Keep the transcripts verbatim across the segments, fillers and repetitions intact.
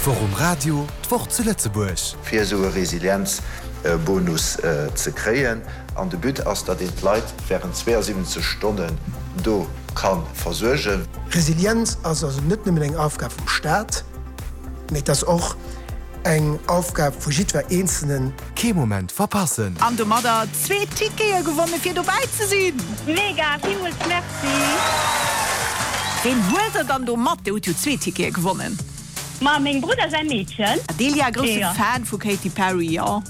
D'Woch um Radio, d'Woch zu Lëtzebuerg. Fir esou e Resilienzbonus ze kréien. An de But ass, datt een d'Leit wärend zweeënsiwwenzeg Stonnen do ka versuergen. Resilienz ass also net nëmmen eng Aufgab vum Staat, mee et ass och eng Aufgab vu jiddwer Eenzelnen. Kee Moment verpassen! An domadder zwee Tickete gewonnen fir dobäi ze sinn! Mega, villmools merci! Ween huelt der dann do mat? Dir hutt jo zwee Tickete gewonnen. Ma mengem Brudder säi Meedchen. Adelia, grousse Fan vu Katy Perry, jo?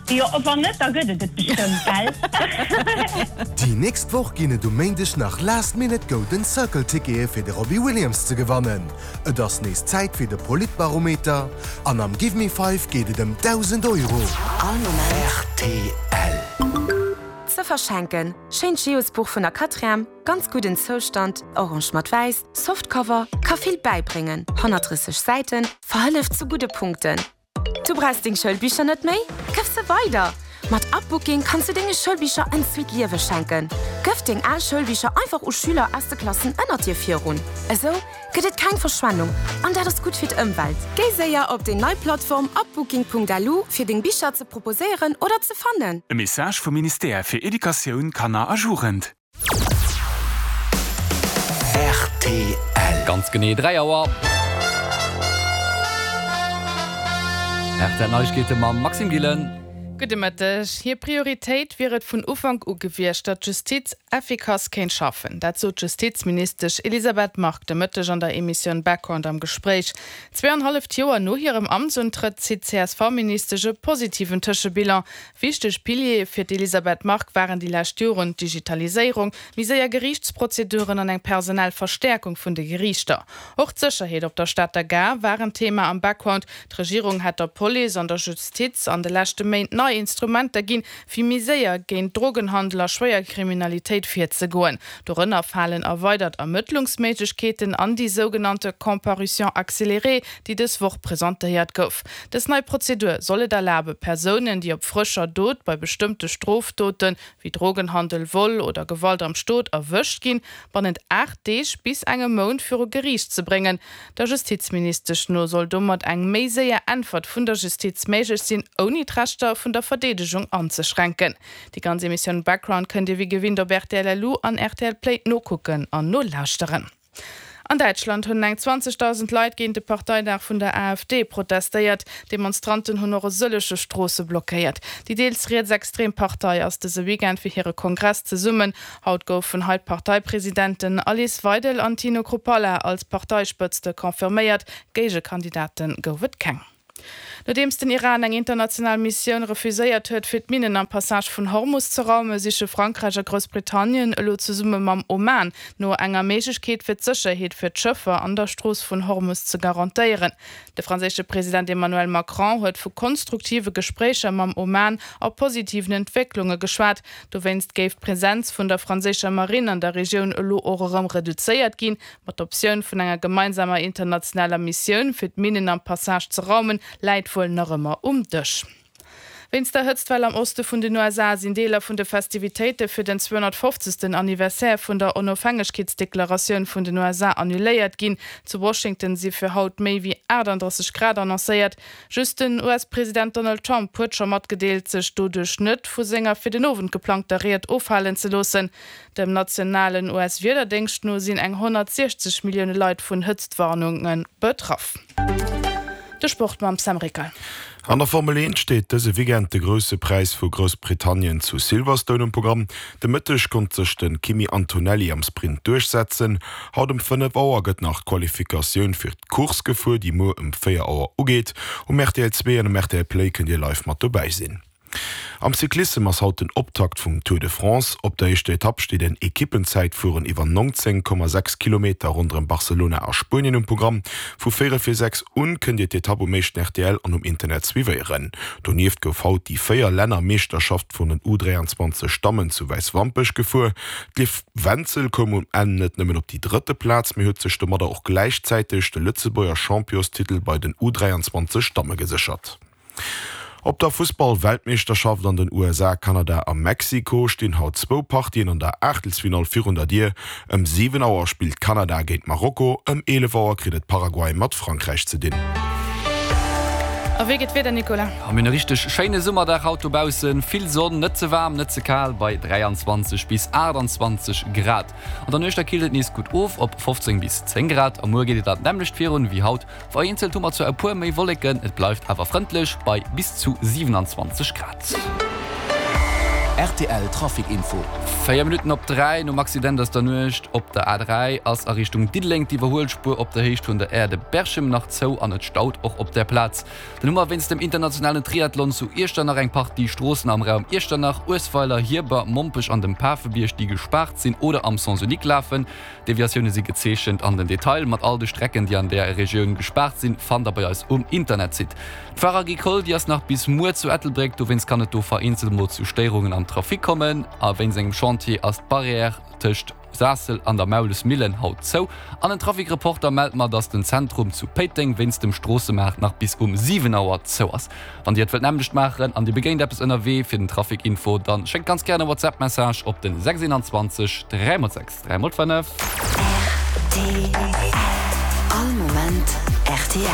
Jo, wann net, da gëtt et et bestëmmt, gell? Déi nächst Woch ginn et um Méindeg nach Last Minute Golden Circle Tickete fir de Robbie Williams ze gewannen. Et ass nees Zäit fir de Politbarometer an am Give Me Five geet et ëm dausend Euro. All Moment. Rtl. Ze verschenken, Schéint Geosbuch vun der Quatrième, ganz gudden Zoustand, orange mat wäiss, Softcover, ka vill bäibréngen, honnertdrësseg Säiten, verhëlleft zu gudde Punkten. Du brauchs deng Schoulbicher net méi? Gëff se weider! Mat Upbooking kanns du denge Schoulbicher en zweet Liewe schenken. Gëff deng al Schoulbicher einfach u Schüler aus de Klassen ënnert dir virun. Esou gëtt et keng Verschwendung an dat ass gutt fir d'Ëmwelt. Géi séier op déi nei Plattform upbooking Punkt L U fir deng Bicher ze proposéieren oder ze fannen. E Message vum Ministère fir Educatioun, Kanner a Jugend. R T L. Ganz genee dräi Auer. R T L Neiegkeete mam Maxime Gillen. Gudde Mëtteg. Hir Prioritéit wier et vun Ufank u gewiescht, datt d'Justiz effikass kéint schaffen. Dat sot d'Justizministesch Elisabeth Margue de Mëtteg an der Emissioun Background am Gespréich. Zwee an halleft Joer no hirem Amtsuntrëtt zitt d'C S V-Ministesch e positiven Tëschebilan. Wichteg Piliere fir d'Elisabeth Margue waren déi lescht Joren d'Digitaliséierung, méi séier Geriichtsprozeduren an eng personell Verstäerkung vun de Geriichter. Och d'Sécherheet op der Stater Gare war en Thema am Background. D'Regierung hätt der Police an der Justiz an de leschte Méint nei Instrumenter ginn, fir méi séier géint Drogenhandel a schwéier Kriminalitéit virzegoen. Dorënner falen erweidert Ermëttlungsméiglechkeeten an déi sougenannte Comparution accélérée, déi dës Woch presentéiert gouf. Dës nei Prozedur soll et erlabe Persounen, déi op frëscher Dot bei bestëmmte Strofdoten, wéi Drogenhandel, Vol oder Gewalt am Stot erwëscht ginn, bannent aacht Deeg bis engem Mount viru Geriicht ze bréngen. Der Justizministesch no soll domat eng méi séier Äntwert vun der Justiz méiglech sinn, ouni d'Rechter vun der Verdeedegung anzeschränken. Déi ganz Emissioun Background kënnt Dir wéi gewinnt op R T L L U an R T L Play nokucken an nolauschteren. An Däitschland hunn eng zwanzegdausend Leit géint de Parteidag vun der A F D protestéiert. Demonstranten hunn och e sëllege Stroosse blockéiert. Déi deels rietsextrem Partei ass dëse Weekend fir hire Kongress zesummen. Haut goufen hei d'Parteipresidenten Alice Weidel an Tino Chrupalla als Parteispëtzte confirméiert. Géigekandidate gouf et keng. Nodeems den Iran eng international Missioun refuséiert huet, fir d'Minnen am Passage vun Hormus ze raumen, siche Frankräich a Groussbritannien elo zesumme mam Oman no enger Méiglechkeet fir d'Sécherheet fir d'Schëffer an der Strooss vun Hormus ze garantéieren. De franséische President Emmanuel Macron huet vu konstruktive Gespréicher mam Oman a positiven Entwécklunge geschwat. Dowéinst géif d'Presenz vun der franséischer Marinn an der Regioun elo och erëm reduzéiert ginn, ma d'Optioun vun enger gemeinsamer internationaler Missioun fir d'Minnen am Passage ze raumen, läit wuel nach ëmmer um Dësch. Wéinst der Hëtztwell am Oste vun den U S A sinn Deeler vun de Festivitéite fir den zweehonnertfofzegsten Anniversaire vun der Onofhängegkeetsdeklaratioun vun den U S A annuléiert ginn. Zu Washington si fir haut méi wéi aachtanddrësseg Grad annoncéiert. Just den U S-President Donald Trump huet scho matgedeelt, sech doduerch net vu senger fir den Owend geplangter Ried ofhalen ze loossen. Dem nationalen U S-Wiederdéngscht no sinn eng honnertsiechzeg Millioune Leit vun Hëtztwarnunge betraff. De Sport mam Sam Rickal. An der Formel eent steet dëse Weekend de Grousse Präis vu Groussbritannien zu Silverstone um Programm. De Mëtteg konnt sech de Kimi Antonelli am Sprint duerchsetzen. Haut um fënnef Auer gëtt nach d'Qualifikatioun fir d'Course gefuer, déi muer um véier Auer ugeet. Um R T L zwee an um R T L Play kënnt Dir live mat dobäi sinn. Am Cyclissem ass haut den Optakt vum Tour de France. Op der éischter Etapp steet en Ekippenzäitfueren iwwer nongzéng Komma sechs Kilometer ronderëm Barcelona a Spuenien um Programm. Vu véierel vir sechs un kënnt Dir d'Etapp um éischten R T L an um Internet suivéieren. Donieft gouf haut déi Véier-Länner-Meeschterschaft vun den U dräianzwanzeg Dammen zu Wäiswampech gefuer. D'Liv Wenzel koum um Enn net nëmmen op déi drëtte Plaz, mee huet sech domadder och gläichzäiteg de Lëtzebuerger Championstitel bei den U dräianzwanzeg Damme geséchert. Op der Fussball-Weltmeeschterschaft an den U S A, Kanada a Mexiko stinn haut zwou Partien an der Aachtelsfinall virun der Dier. Ëm siwen Auer spillt Kanada géint Marokko, ëm eelef Auer kritt et Paraguay mat Frankräich ze dinn. A wéi geet d'Wieder, Nicolas? Mir hunn e richteg schéine Summerdag haut dobaussen. Vill Sonn, net ze waarm, net ze kal bei dräianzwanzeg bis aachtanzwanzeg Grad. An der Nuecht da killt et nees gutt of op fofzéng bis zéng Grad. A muer geet et dat nämmlecht virun wéi haut. Vereenzelt hu mer zwar e puer méi Wolleken, et bleift awer frëndlech bei bis zu siwenanzwanzeg Grad. Rtl Trafic Info. Véier Minutten op dräi nom Accident aus der Nuecht op der A dräi ass a Richtung Diddeleng d'Iwwerhuelspuer op der Héicht vun der Aire de Berchem nach zou an et staut och op där Plaz. Dann hu mer wéinst dem internationalen Triathlon zu Iechternach eng Partie Stroossen am Raum Iechternach, Uesweiler, Hierber, Mompech an dem Pafebierg, déi gespaart sinn oder am Sens unique lafen. D'Deviatioune si gezeechent an den Detail mat all de Strecken, déi an där Regioun gespaart sinn, fannt der bei eis um Internetsite. D'Foire Agricole, déi ass nach bis muer zu Ettelbréck, dowéinst kann et do vereenzelt mol zu Stéierungen am Trafic kommen. A wéinst engem Chantier ass d'Barrière tëscht Saassel an der Maulesmillen haut zou. An en Trafic-Reporter mellt mer, dass den Zentrum zu Péiteng wéinst dem Stroossemaart nach bis um siwen Auer zou ass. Wann Dir et wëllt nämmlecht maachen an Dir begéint eppes ënnerwee fir den Trafic-Info, dann schéckt ganz gären e WhatsApp-Message op den sechs eenanzwanzeg dräi mol sechs dräi mol fënnef. Rtl All Moment rtl.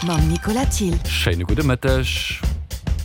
Mam Nicolas Thill. Schéine gudde Mëtteg.